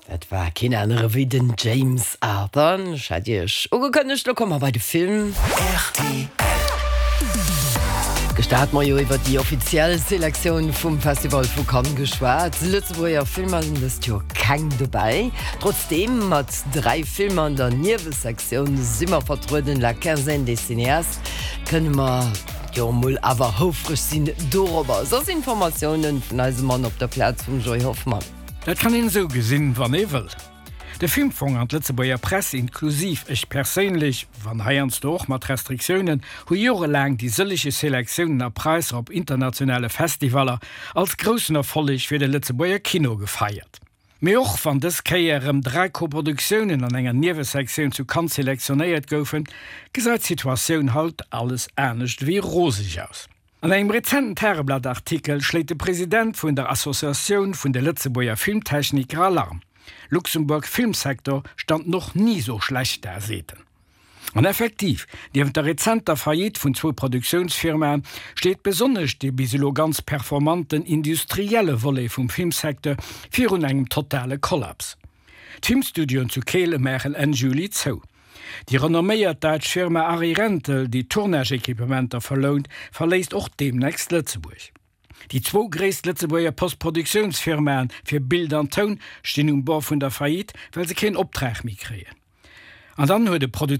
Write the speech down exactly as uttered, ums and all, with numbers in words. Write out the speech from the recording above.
Dat war keen anere wéi den James Arthur. Ech hat iech ugekënnegt, lo komme mer bei de Film. R T L. Gëschter hate mer jo iwwer déi offiziell Selektioun vum Festival vu Cannes geschwat. Lëtzebuerger Filmer sinn dëst Joer keng dobäi. Trotzdeem mat dräi Filmer an der Niewesektioun si mer vertrueden, La Quinzaine des cinéastes, kënne mer jo mol awer houfreg sinn dorobber. Soss Informatioune vun eisem Mann op der Plaz, vum Joy Hoffmann. Dat kann een esou gesinn, wann ee wëll. De Filmfong an d'Lëtzebuerger Press, inklusiv ech perséinlech, wann heiansdo och mat Restriktiounen, hu jorelaang déi sëllege Selektiounen a Präisser op internationale Festivaller als groussen Erfolleg fir de Lëtzebuerger Kino gefeiert. Mee och wann dës Kéier erëm dräi Koproduktiounen an enger Niewesektioun zu Cannes selektionéiert goufen, gesäit d'Situatioun haut alles anescht wéi roseg aus. An engem rezenten Tageblatt-Artikel schléit de President vun der Associatioun vun de Lëtzebuerger Filmtechniker Alarm. Luxemburg Filmsektor stand noch nie so schlecht da, seet en. An effektiv, nieft der rezenter Faillite vun zwou Produktiounsfirmaen, steet besonnesch dee bis elo ganz performanten industrielle Volet vum Filmsecteur virun engem totale Kollaps. D'Filmstudioen zu Keel maachen Enn Juli zou. Déi renomméiert däitsch Firma Arri Rental, déi Tournage-Equipementer verlount, verléisst och deemnächst Lëtzebuerg. Déi zwou gréisst Lëtzebuerger Postproduktiounsfirmaen fir Bild an Toun stinn um Bord vun der Faillite, well se keen Optrag méi kréien. An dann huet de Produzent